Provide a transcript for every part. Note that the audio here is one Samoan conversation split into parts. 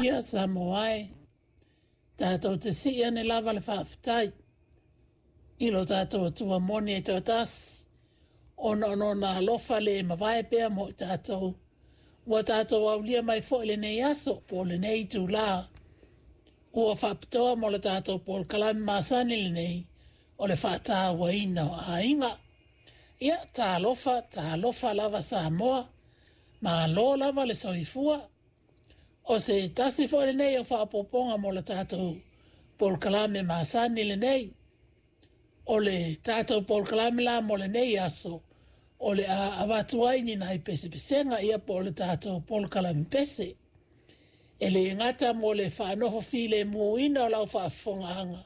Ia Samoa e, tatou te sii ane lava le faafetai i lo tatou Atua moni e toatasi, ona o lona alofa le mavae pea mo i tatou, ua tatou aulia mai foi lenei aso po o lenei itulā ua faapitoa mo le tatou polokalame masani lenei o le faatauaina o aiga. Ia, talofa, talofa lava Samoa, malo lava le soifua. O se tasi foi lenei o faaopoopoga mo le tatou polokalame masani lenei. O le tatou polokalame la mo lenei aso, o le a avatu ai ni nai pesepesega ia po o le tatou polokalame pese. E le gata mo le faanofo filemuina o lau faafofogaaga,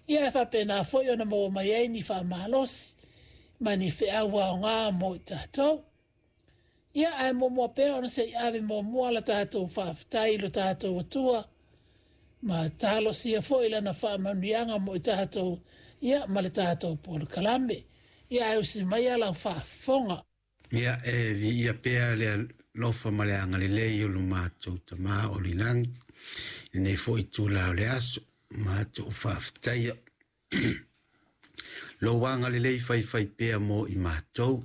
ia e faapena foi ona maua mai ai ni faamalosi ma ni feau aoga mo i tatou. Ia, ae muamua pea ona se i ave muamua la tatou faafetai i lo tatou Atua, ma talosia foi lana faamanuiaga mo i tatou, ia, ma le tatou polokalame. Ia, ae usi maia lau faafofoga. Ia, e viia pea le alofa ma le agalelei o lo matou Tama o le lagi, i lenei foi itula o le aso, matou faafetaia. Lou agalelei faifai pea mo i matou.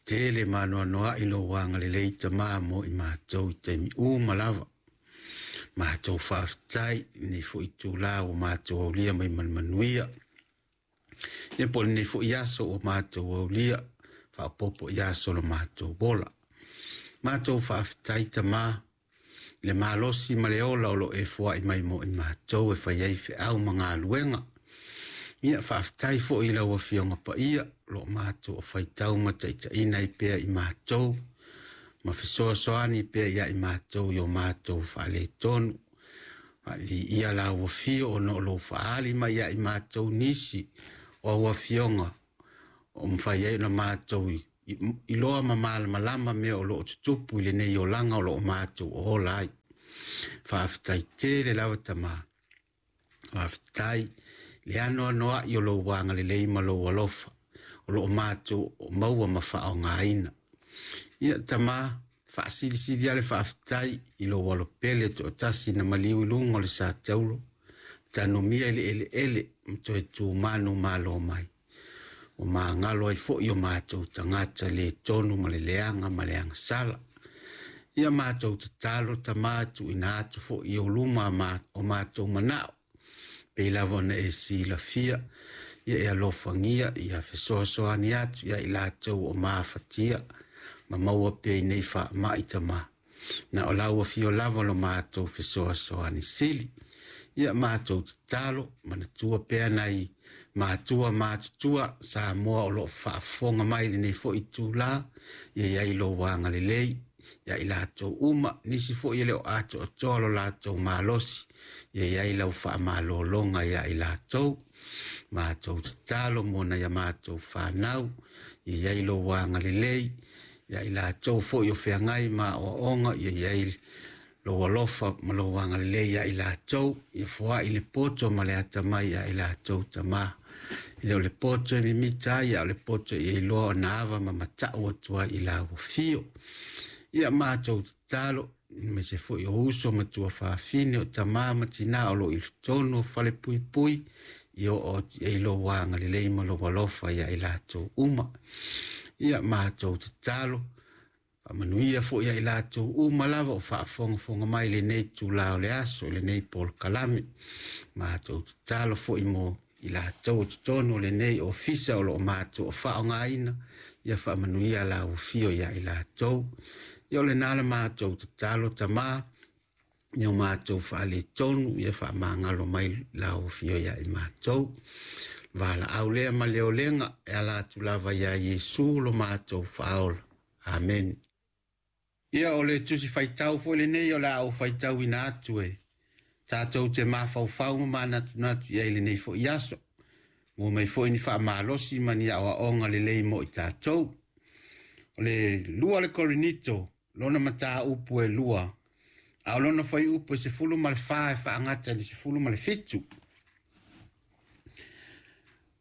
Tele maanoanoa'i lou agalelei Tama mo i matou i taimi uma lava. Matou faafetai i lenei foi itula ua matou aulia mai ma le manuia. Ia po o lenei foi aso ua matou aulia, faaopoopo i aso o lo matou ola. Matou faafetai Tama i le malosi ma le ola o lo o e foai mai mo i matou e fai ai feau ma galuega. Ia faafetai foi i lau Afioga Paia, o lo o matou o faitau ma taitaiina ai pea i matou, ma fesoasoani pea ia i matou i o matou faaletonu. Ia lau afio ona o lou faaali mai ia i matou nisi o au afioga o mafai ai ona matou iloa ma malamalama mea o lo o tutupu i lenei olaga o lo o matou ola ai. Faafetai tele lava Tama. Faafetai le anoanoa'i o lou agalelei ma lou alofa o lo o matou o maua ma faaaogaina. Ia Tama, faasilisili lava le faafetai i lou alopele toatasi na maliu i luga o le sataulo, tanumia i le eleele ma toe tumanu malo mai. Ua magalo ai foi o matou tagata le tonu ma le leaga ma le agasala. Ia matou tatalo Tama tuuina atu foi i ou luma o matou manao. Pei lava ona e silafia, ia e alofagia, ia fesoasoani atu ia i latou o mafatia, ma maua pea i nei faamai Tama. Na o lau afio lava lo matou fesoasoani sili. Ia matou tatalo, manatua pea nai matua matutua Samoa o lo o faafofoga mai lenei foi itula, ia iai lou agalelei ia i latou uma, nisi foi e le o atoatoa lo latou malosi, ia iai lau faamalologa ia i latou. Matou tatalo mo nai a matou fanau, ia iai lou agalelei ia i latou foi o feagai ma aoaoga, ia iai lou alofa ma lou agalelei ia i latou, ia foai le poto ma le atamai ia i latou Tama. E le o le poto e mimita ai, a o le poto e iloa ona ava ma matau atu ai i lau afio. Ia matou tatalo, aemaise foi o uso ma tuafafine o tama ma tina o lo o i totonu o falepuipui, ia oo atu i ai lou agalelei ma lou alofa ia i latou uma. Ia matou tatalo, faamanuia foi ia i latou uma lava o faafogafoga mai lenei itula o le aso, lenei polokalame. Matou tatalo foi mo i latou o totonu o lenei ofisa o lo o matou o faaaogaina, ia faamanuia lau afio ia i latou. Ia o lena la matou tatalo Tama, ia o matou faaletonu, ia faamagalo mai lau afio ia i matou. Valaau lea ma le olega e ala atu lava ia Iesu lo matou faaola. Amen. Ia o le tusi faitau foi lenei o le a ou faitauina atu e tatou te mafaufau ma manatunatu i ai lenei foi aso. Mo mai foi ni faamalosi ma ni aoaoga lelei mo i tatou. O le 2 le Korinito, lona mataupu e 2, a o lona fuaiupu e 14 e faagata i le 17.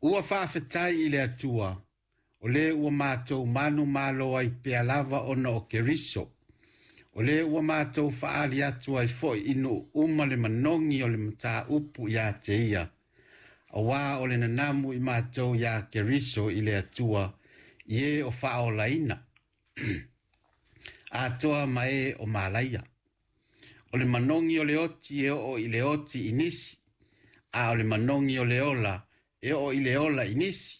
Ua faafetai i le Atua, o le ua matou manumalo ai pea lava ona o Keriso. O lea ua matou faaali atu ai fo'i i nuu uma le manogi o le mataupu iā te ia, auā o le nanamu i matou iā Keriso i le Atua i e o faaolaina atoa ma e o malaia. O le manogi o le oti e oo i le oti i nisi, a o le manogi o le ola e oo i le ola i nisi.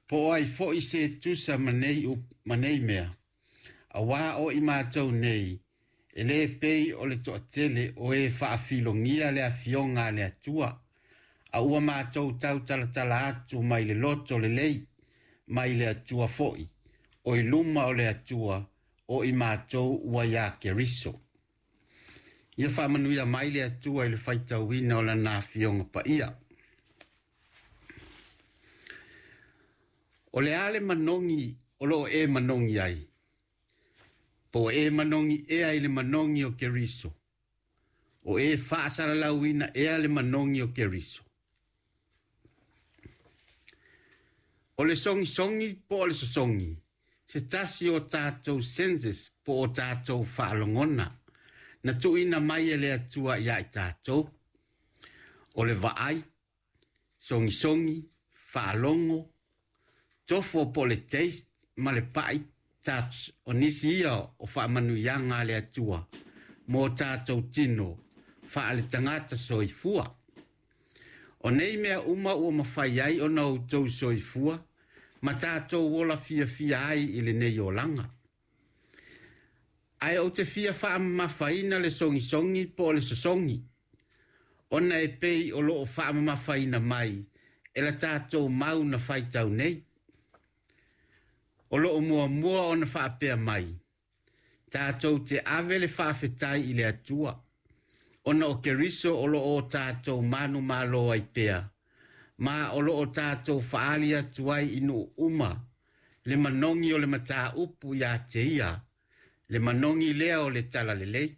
Po o ai fo'i se tusa ma nei mea, auā o i matou nei, e lē pei o le toatele o e faafilogia le afioga a le Atua, a ua matou tautalatala atu mai le loto lelei, mai le Atua fo'i, o i luma o le Atua, o i matou ua iā Keriso. Ia faamanuia mai le Atua i le faitauina o lana afioga paia. O le a le manogi o loo e manogi ai, po o e manogi ea i le manogi o Keriso, o e faasalalauina ea le manogi o Keriso. O le sogisogi po o le sosogi, se tasi o tatou senses po o tatou faalogona, na tuuina mai e le Atua iā i tatou. O le vaai, sogisogi, faalogo, tofo po o le taste ma le pai touch o nisi ia o faamanuiaga a le Atua mo tatou tino faaletagata soifua. O nei mea uma ua mafai ai ona outou soifua ma tatou ola fiafia ai i lenei olaga. Ae ou te fia faamamafaina le sogisogi po o le sosogi, ona e pei o loo faamamafaina mai e la tatou mau na faitau nei. O loo muamua ona faapea mai, tatou te ave le faafetai i le Atua, ona o Keriso o loo o tatou manumalo ai pea, ma o loo tatou faaali atu ai i nuu uma le manogi o le mataupu iā te ia, le manogi lea o le talalelei.